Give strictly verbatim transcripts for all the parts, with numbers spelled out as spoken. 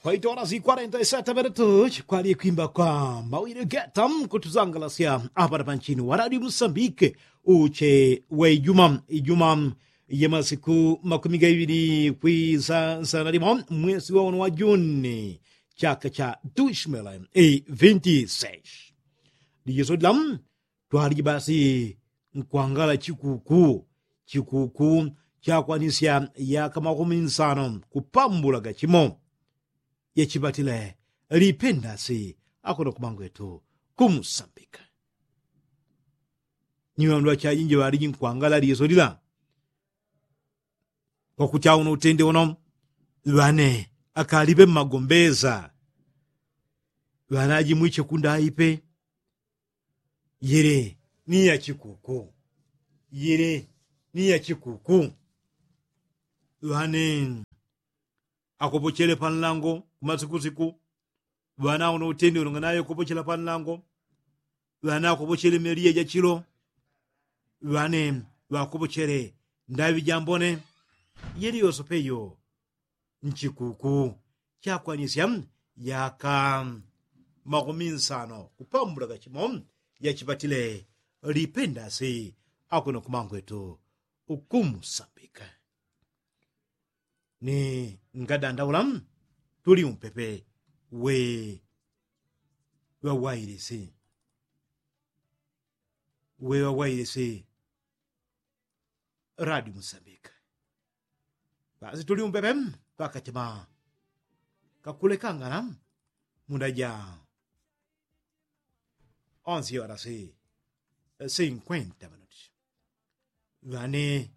Kwaitola si kwarenta isata minutu kwali kwimba kwa mawili geta kutuzangalasya apana panchini waradi musambike. Uche wa ijuma ijuma ya masiku makumi gaivili kwisansa na limo mwesi wa uno wa juni chaka cha dushmele vinti seis. Lijeso dila twaliji basi nkwangala chikuku chikuku chakwanisya yaka makumi nsano kupambulaga chimo. Yachipatile lipendasi akuno kumangwetu kumusambika. Nyiwandwa chajinji ŵaliji nkwangala liso lila kwakuti auno utende uno ŵane akalipe mmagombeza. Ŵane ajimwiche kundaipe. Yili ni ya chikuku. Yili ni ya chikuku. Ŵane akopochele panlango kumasikusiku. Ŵane auno utende uno nganaye kopochela panlango. Ŵane akopochele meliya jachilo. Ŵane ŵakopochele ndaŵi jambone. Yili yosope yo nchikuku chakwanisya yaka makumi nsano kupambulaga chimo. Yachipatile lipendasi akuno kumangwetu ukumusambika. Ni ngadandaula tuli umpepe we ŵawailisi we ŵawailisi. Radi musambika basi tuli umpepe pakachima kakulekangana. Muda ja onse orasi sinkwenta minuti. Ŵane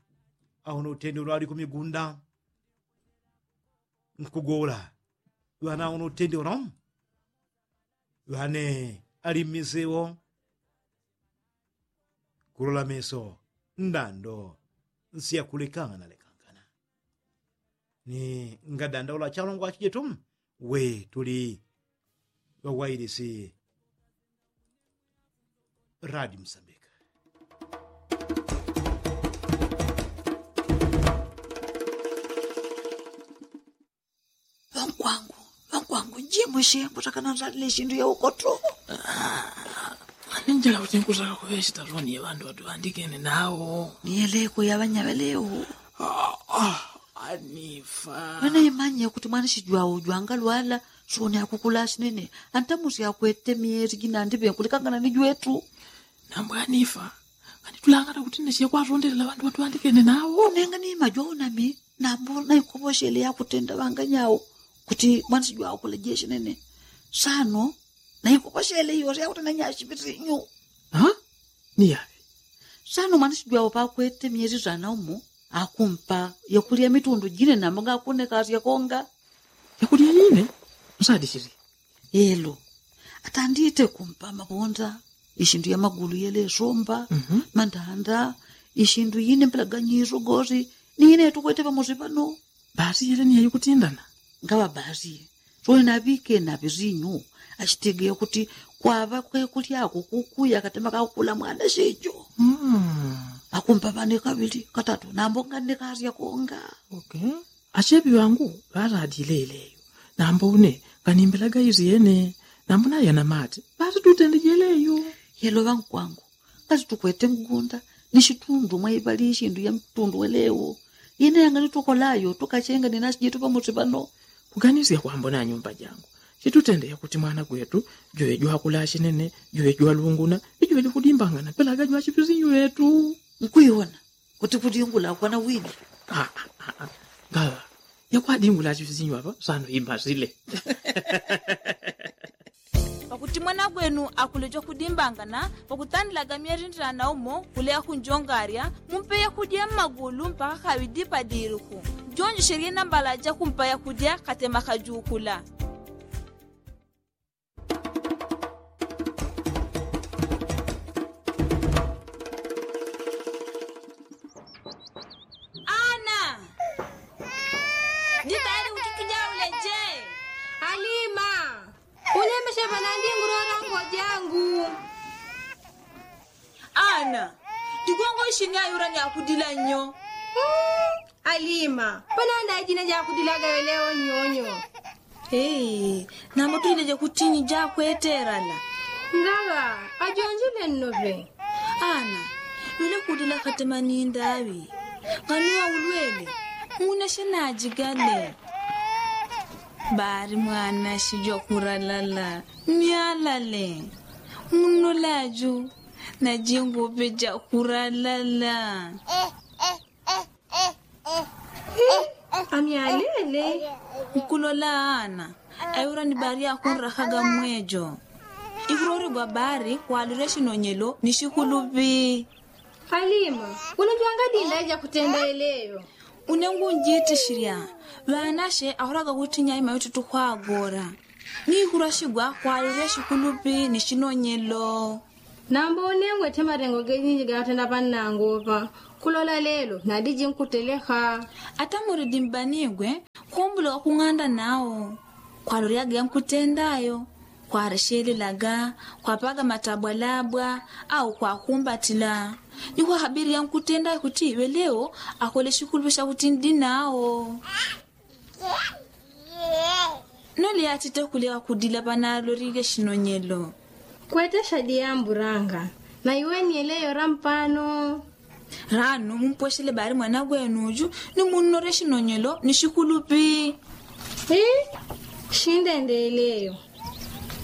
auno utende ulwali kumigunda nkugola. Ŵane auno utende uno ŵane ali mmisewo. Kulola meso ndando nsiyakulekangana lekangana. Ni ngadandaula chalongwa chijetu we tuli ŵawailisi. Radi musambika. Ŵankwangu, ŵankwangu njimushe kutakana nzalile shindu ya ukoto. Ninjala kuti nkutaka kuŵe shitaloni ya ŵandu ŵatuŵandikene nawo. Niyeleko ya ŵanyaŵelewo. Anifa. Ŵanaimanye kuti mwanishijwawo jwangalwala soni akukula shinene. Antamusi akwete myeli jinandi ŵenkulekangana ni jwetu. Nambwa anifa. Nganitulangana kuti nashile kwatondelela ŵandu ŵatuŵandikene nawo. Nenga ni majwawo nami nambo naikoposhele yakutenda ŵanganyawo kuti mwanishijwawo kulejeshe nene. Sano naikoposhele iyo syakutenda nyashipisinyu. Niyaŵe. Sano mwanishijwawo pakwete myeli sanaumo akumpa yakulya mitundu jine nambo ngakunekasya konga. Yakulya jine? Nsadishili. Elo atandite kumpa mabonda, ishindu ya magulu yelesomba, mandanda, ishindu yine mpelaganyiso gosi. Ni yine yatukwete pamosi pano. Basi yele ni yayikutindana. Ngaŵa basi. Sole naŵike naŵisinyu. Ashitegeya kuti kwaŵa kwekulyako kukuya katema kakukula mwana shejo. Akumpa ŵane kaŵili katatu nambo nganekasya konga. Achepi ŵangu ŵaladile yeleyo. Nambo une nganimbilaga isyene. Nambo nayana mate ŵatitutende jeleyo. Yelo ŵankwangu ngatitukwete mgunda ni shitundu mwaiŵali ishindu ya mtundu welewo. Yene yanganitukolayo tukachenga ni nasi jetu pamosi pano. Kuganisya kwambona nyumba jangu chitutende yakuti mwana gwetu juŵe jwakula shinene, juŵe jwalunguna, ni juŵe jwakudimbangana pelaga jwachipisinyu ŵetu. Nkwiwona kuti kudingula kwana wini. Ngaŵa yakwadingula chivizinyu apa sano imbazile. Pakuti mwana gwenu akuleja kudimbangana pakutandilaga myeri ndirana umo kuleya kunjongarya mumpe yakudya mmagulu mpaka kaŵidi padiruku. Jonjesherye nambala jakumpa yakudya katema kajukula. Ana, jitayali kuti tujaule je? Alima, ulemeshe panandi ngurora ngojangu. Ana, tigongo ishini ayura ni akudila nyo. Alima, pananda ajina jakudilaga weleo nyonyo. Nambo tuileje kutinyi jakweterana. Ngaŵa ajonjile nnoŵe. Ana, wile kudila katema nindaŵi. Nganuwa ulwele, muneshe najigale. Bari mwana shijwa kuralala. Myalale. Munolaju najinguŵe jakuralala. Amyalele. Nkulola ana. Ayura ni bari akunrakaga mwejo. Ikuloregwa bari kwalire shinonyelo ni shikuluŵi. Alima, unujwanga dinda jakutenda eleyo. Unengunjitishirya. Ŵanashe ahuraga kutinya ima yututu kwagora. Ni ikurashigwa kwalire shikuluŵi ni shinonyelo. Nambo unengwe te marengo gejinji gatenda panangopa. Kulola lelo nadiji nkuteleka. Ata muridi mbanigwe. Kumbula wakung'anda nao. Kwaloryaga yankutendayo. Kwareshelelaga, kwapaga matabwalabwa au kwakumbatila. Ni kwahabiri yankutendayo kuti weleo akole shikuluŵi shakuti ndi nao. Nole yatite kuleka kudila panalolile shinonyelo. Kwete shadiyamburanga. Na iwe ni eleyo rampano. Rano mumpweshele bari mwana gwenuju. Ni munnore shinonyelo ni shikuluŵi. Shindendeleyo.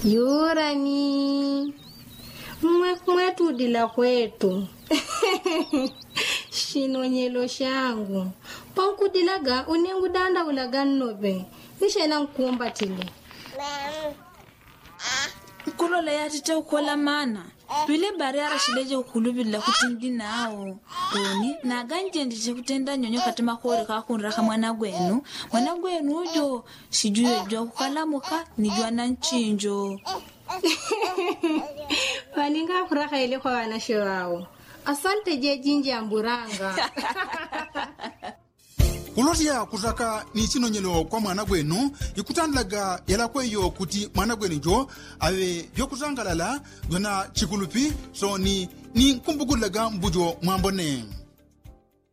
Yurani. Mwe kwetu dila kwetu. Shinonyelo shangu. Pankudilaga unengudandaulaga nnoŵe. Nishena nkumbatile. Nkulola yatite ukola mana. Pile bari arashileje ukuluŵilila kuti ndi nao. Oni naganjenjeje kutenda nyonyo kati makore kakunraka mwana gwenu. Mwana gwenu ujo shijule jwa kukalamuka ni jwa na nchinjo. Ŵaninga akuraka ile kwa ŵanashe ŵao. Asante jejinji amburanga. Kulosya kusaka ni chinonyelo kwa mwana gwenu. Ikutandilaga yalakweyo kuti mwana gwenu jo aŵe jwakusangalala jwa na chikuluŵi. Soni ni nkumbukulilaga mbujo mwambone.